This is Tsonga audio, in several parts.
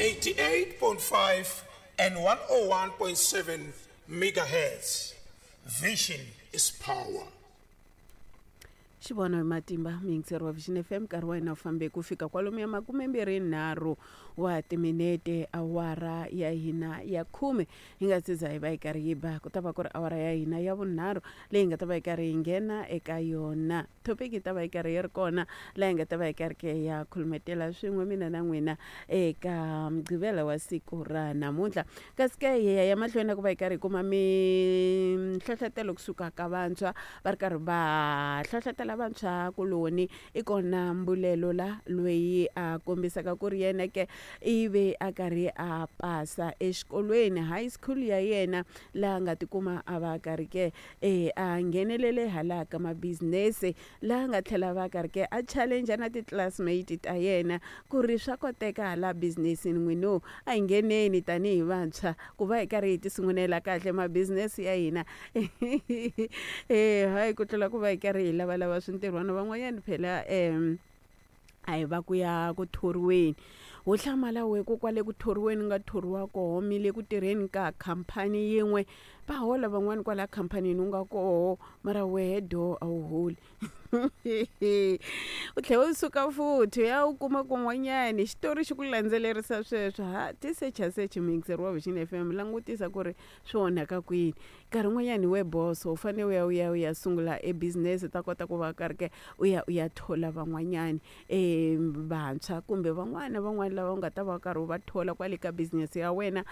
88.5 and 101.7 megahertz. Vision is power. Xivono hi matimba muyingiseri wa Vision FM, nkarhi wa hina wu fambe ku fika kwalomu ya 23 wa timinete awara ya hina ya 10. Hi nga se za hi va hi karhi yi ba, ku ta va ku ri awara ya hina ya vunharhu leyi nga ta va hi karhi hi nghena eka yona. Topic yi ta va yi karhi yi ri kona laha hi nga ta va hi karhi ke ya khulumetela swin'we mina na n'wina eka mugqivela wa siku ra namuntlha. Kasi ke hi ya mahlweni na ku va hi karhi hi kuma minhlohlotelo kusuka ka vantshwa, va ri karhi va hlohlotela vantshwa kuloni. I kona Mbulelo la loyi a kombisaka ku ri yena ke ivi a karhi a pasa exikolweni high school ya yena, laha nga tikuma a va karhi ke a nghenelele hala ka mabizinese, laha nga tlhela va karhi ke a challenge na ti-classmate ta yena ku ri swa koteka hala businessini n'wino, a hi ngheneni tanihi vantshwa ku va hi karhi hi ti sungulela kahle mabizinese ya hina. Hayi ku tlula ku va hi karhi hi lavalava swintirhwana. Van'wanyana phela a hi va ku ya ku thoriweni, wo hlamala we ku kwale ku thoriweni nga thoriwa koho, mi le ku tirheni ka khampani yin'we, va hola van'wani kwala khampanini u nga koho, mara wehe do a wu holi. U tlhela u suka futhi ya u kuma kun'wanyani xitori xi ku landzelerisa sweswo. Ha ti secha secha muyingiseri wa Vision FM, langutisa ku ri swi onhaka kwini. Nkarhi wun'wanyani we boso u fanele u ya u ya u ya sungula e business, u ta kota ku va karhi ke u ya u ya thola van'wanyani vantshwa kumbe van'wana van'wana lava u nga ta va karhi u va thola kwale ka business ya wena,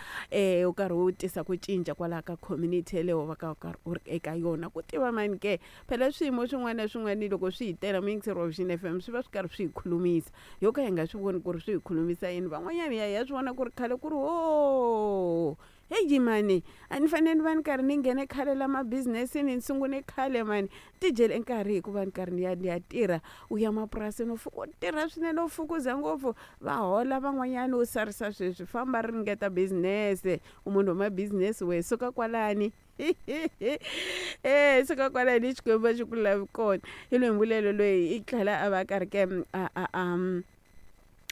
u karhi u tisa ku cinca kwalaho ka community yeleyo va ka karhi u ri eka yona. Ku tiva mani ke, phela swiyimo swin'wana na swin'wana loko swi hi tela muyingiseri wa Vision FM swi va swi karhi swi hi khulumisa, yo ka hi nga swi voni ku ri swi hi khulumisa yini. Van'wanyana ya hi ya swi vona ku ri khale ku ri ho heyi mani, a ni fanele ni va ni karhi ni nghene khale la mabizinesini, ni sungule khale mani, ti dyele nkarhi hikuva ni karhi ni ya ni ya tirha. U ya mapurasini u fika u tirha swinene, u fukuza ngopfu, va hola van'wanyana u sarisa sweswi. Famba ringeta business, u munhu wa mabizinesi we, suka kwalani. Suka kwalani, Xikwembu a xi ku lavi kona. Hi loyi Mbulelo loyi i tlhela a va karhi ke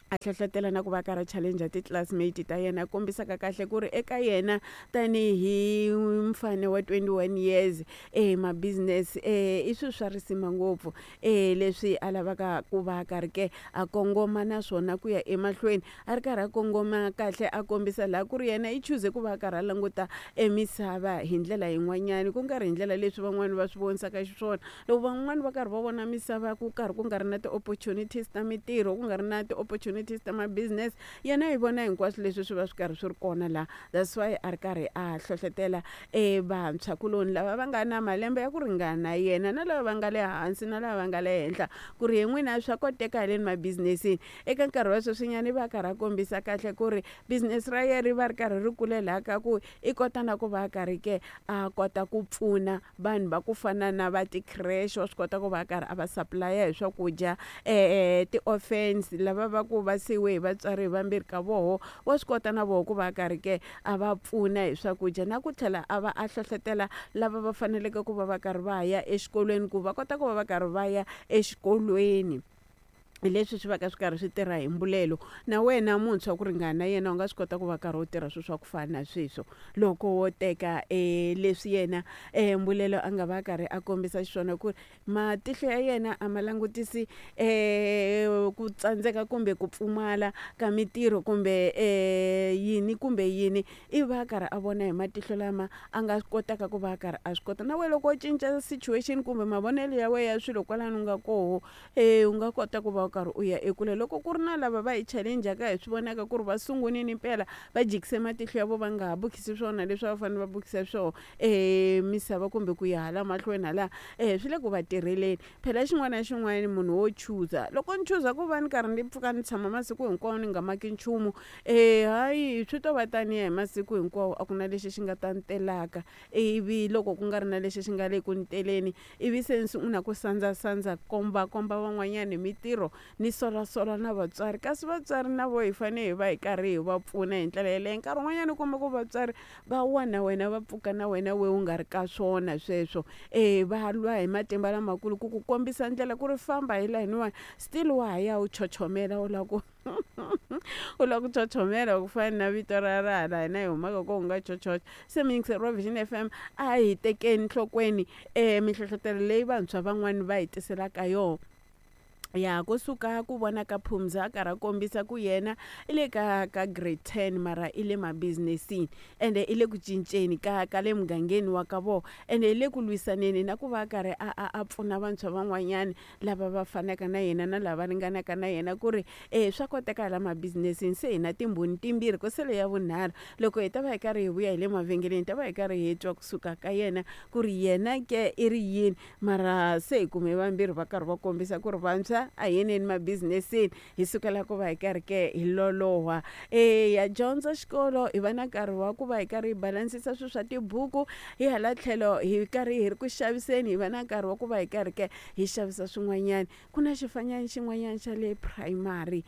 a hlohlotela na ku va karhi challenge ti-classmate ta yena, kombisaka kahle ku ri eka yena tanihi mfana wa 21 years ma-business i swilo swa risima ngopfu leswi a lavaka ku va karhi ke a kongoma na swona ku ya emahlweni, a ri karhi a kongoma kahle, a kombisa laha ku ri yena i chuze ku va karhi a languta emisava hi ndlela yin'wanyani, ku nga ri hi ndlela leswi van'wani va swi vonisaka xiswona. Loko van'wani va karhi va vona misava ku karhi ku nga ri na ti-opportunities ta mintirho, ku nga ri na ti-opportunities ta ma-business, yena yi vona hinkwaswo leswi swi va swi karhi swi ri kona laha. That's why a ri karhi a hlohlotela vantshwa kuloni lava va nga na malembe ya ku ringana yena, na lava va nga le hansi, na lava va nga le henhla, ku ri hi n'wina swa koteka haleni mabizinesini. Eka nkarhi wa sweswinyana i va karhi a kombisa kahle ku ri business ra yena ri va ri karhi ri kule laha ka ku i kota na ku va karhi ke a kota ku pfuna vanhu va ku fana na va ti-creche, wa swi kota ku va karhi a va supply-a hi swakudya, ti-orphans lava va ku va siyiwe hi vatswari hi vambirhi ka voho, wa swi kota na voho ku va karhi ke a va pfuna hi swakudya, na ku tlhela a va a hlohlotela lava va faneleke ku va va karhi va ya exikolweni ku va kota ku va va karhi va ya exikolweni. Hi leswi swi va ka swi karhi swi tirha hi Mbulelo. Na wena muntshwa ku ringana na yena u nga swi kota ku va karhi u tirha swilo swa ku fana na sweswo, loko wo teka leswi yena Mbulelo a nga va karhi a kombisa xiswona, ku matihlo ya yena a ma langutisi ku tsandzeka kumbe ku pfumala ka mintirho kumbe yini kumbe yini, i va karhi a vona hi matihlo lama a nga kotaka ku va karhi a swi kota. Na wena loko u cinca situation kumbe mavonelo ya wena ya swilo kwalano u nga koho, u nga kota ku va u karhi u ya ekule. Loko ku ri na lava va hi challenge-aka, hi swi vonaka ku ri va sungunini mpela, va jikise matihlo ya vo, va nga ha bukisi swona leswi a va fanele va bukisa swona misava kumbe ku ya hala mahlweni hala, swi le ku va tirheleni. Phela xin'wana na xin'wana munhu wo chuza, loko ni chuza ku va ni karhi ni pfuka ni tshama masiku hinkwawo ni nga maki nchumu, hayi swi to va taniya hi masiku hinkwawo, a ku na lexi xi nga ta ni telaka. Ivi loko ku nga ri na lexi xi nga le ku ni teleni, ivi se ni sungula ku sandzasandza komba komba van'wanyana hi mintirho, Ni solasola na vatswari, kasi vatswari na vo hi fanele hi va hi karhi hi va pfuna hi ndlela yeleyo. Nkarhi wun'wanyana u kuma ku vatswari va wa na wena, va pfuka na wena we u nga ri ka swona sweswo. E va lwa hi matimba lamakulu ku ku kombisa ndlela ku ri famba hi layiniwani, still wa ha ya u chochomela, u lava ku u lava ku chochomela ku fana na vito ra ra hala hina hi humaka kona ku nga chochocha. Se muyingiseri wa Vision FM, a hi tekeni nhlokweni minhlohlotelo leyi vantshwa van'wani va hi tiselaka yona. Ya kusuka ku vona ka Phumza a karhi a kombisa ku yena i le ka grade 10, mara i le mabizinesini, ende i le ku cinceni ka le mugangeni wa ka vona, ende i le ku lwisaneni na ku va a karhi a pfuna vantshwa van'wanyana lava va fanaka na yena na lava ringanaka na yena ku ri e swa koteka hala mabizinesini. Se hi na timbhoni timbirhi, ku sele ya vunharhu. Loko hi ta va hi karhi hi vuya hi le mavhengeleni, hi ta va hi karhi hi twa kusuka ka yena ku ri yena ke i ri yini. Mara se hi kume vambirhi va karhi va kombisa ku ri vantshwa a hi yeneni mabizinesini, hi sukela ku va hi karhi ke hi loloha. E ya dyondza xikolo, hi va na nkarhi wa ku va hi karhi hi balansisa swilo swa tibuku, hi hala tlhelo hi karhi hi ri ku xaviseni, hi va na nkarhi wa ku va hi karhi ke hi xavisa swin'wanyana. Ku na xifanyana xin'wanyana xa le primary.